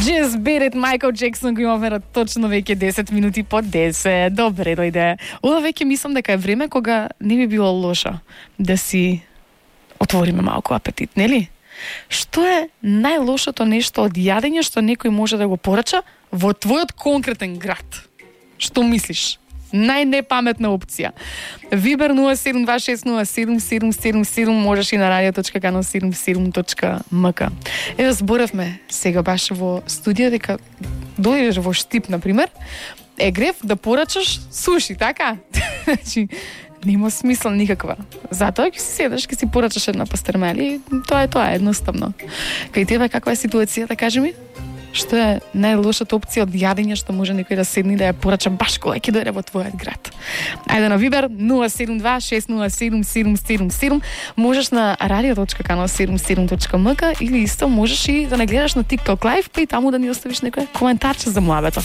Just Beat It, Michael Jackson го имаме точно веќе 10 минути по 10. Добре дојде. Ова веќе мислам дека е време кога не би било лошо да си отвориме малку апетит, нели? Што е најлошото нешто од јадење што некој може да го порача во твојот конкретен град? Што мислиш? Најнепаметна опција. Вибер 0726077777, можеш и на radio.kano77.mk. Ева, зборевме сега баш во студија дека дојдеш во Штип, например, грев да порачаш суши, така? Значи, нема смисла никаква. Затоа ќе си седеш, ќе си порачаш една пастермели и тоа е едноставно. Кај тебе каква е ситуацијата, кажи ми? Што е најлошата опција од јадење што може некој да седне да ја порача баш кога ќе дојде во твојот град? Ајде на Вибер 072-607-777. Можеш на radio.kano77.mk или исто можеш и да не гледаш на TikTok Live, па и таму да ни оставиш некој коментарче за муабето.